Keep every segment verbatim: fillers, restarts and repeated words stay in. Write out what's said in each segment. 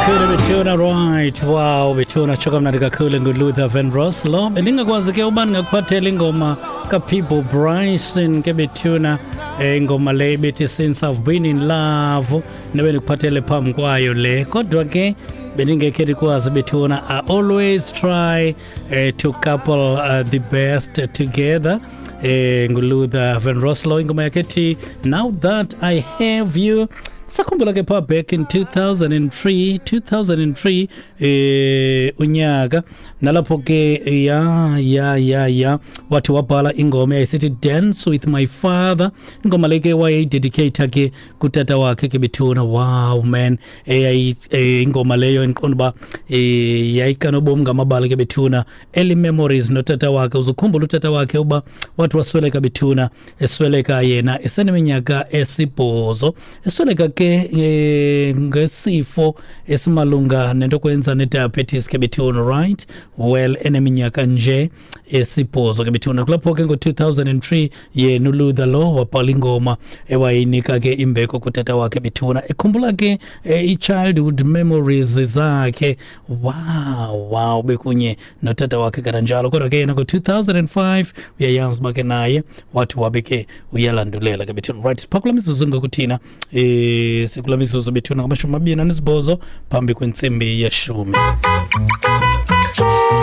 Kakhulu bethuna, right. Wow, bethuna, tsho kamnandi kakhulu nguLuther Vandross lo. Bendingakwazi ke uba ndingakuphathela ingoma kaPeabo Bryson ke bethuna, eh, ingoma le bethi "Since I've Been in Love", nebe ndikuphathele phambi kwayo le, kodwa ke bendingekhe ndikwazi bethuna. I always try uh, to couple uh, the best together. eh nguLuther Vandross lo, ingoma yakhe ethi "Now That I Have You". Sakhumbula ke pha back in two thousand three, two thousand three eh unyaka nalapho ke, ya ya ya ya wathi wabhala ingoma eyayisithi "Dance with My Father". Ingoma le ke wayeyidedicate ke kutata wakhe ke bethuna. Wow man, eyayi eh, ingoma leyo endiqonda uba eh yayikanobomi ngamabali ke bethuna, early memories notata wakhe. Uzukhumbula utata wakhe uba wathi wasweleka bethuna, esweleka yena eseneminyaka esibhozo, esweleka ke eh, ngesifo esimalunga nento kwenza ne-diabetes ke bethuna, right. Well, eneminyaka nje esibhozo ke bethuna. Kulapho ke ngo-two thousand three yena uLuther lo wabhala ingoma ewayinika ke imbeko kutata wakhe bethuna, ekhumbula ke eh, i-childhood memories zakhe. wow wow bekunye notata wakhe kananjalo. Kodwa ke yena ngo-two thousand five uyayazi uba ke naye wathi wabe ke uyalandulela ke bethuna. Right, phaa kula mizuzu ngokuthina, eh sikula mizuzu bethuna ngamashumi amabini anesibhozo phambi kwentsimbi yeshumi.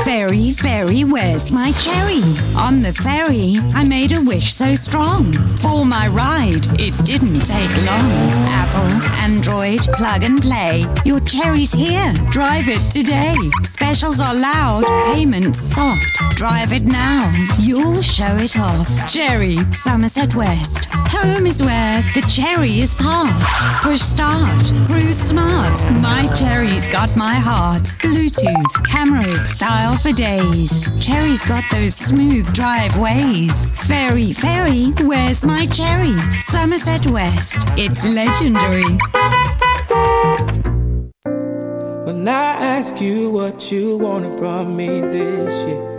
Fairy, fairy, where's my cherry? On the ferry, I made a wish so strong. For my ride, it didn't take long. Apple, Android, plug and play. Your cherry's here. Drive it today. Specials are loud, payments soft. Drive it now. You'll show it off. Cherry, Somerset West. Home is where the cherry is parked. Push start. Cruise smart. My cherry's got my heart. Bluetooth, cameras, style for days. Cherry's got those smooth drive ways. Fairy, fairy, where's my cherry? Somerset West. It's legendary. When I ask you what you wanted from me this year,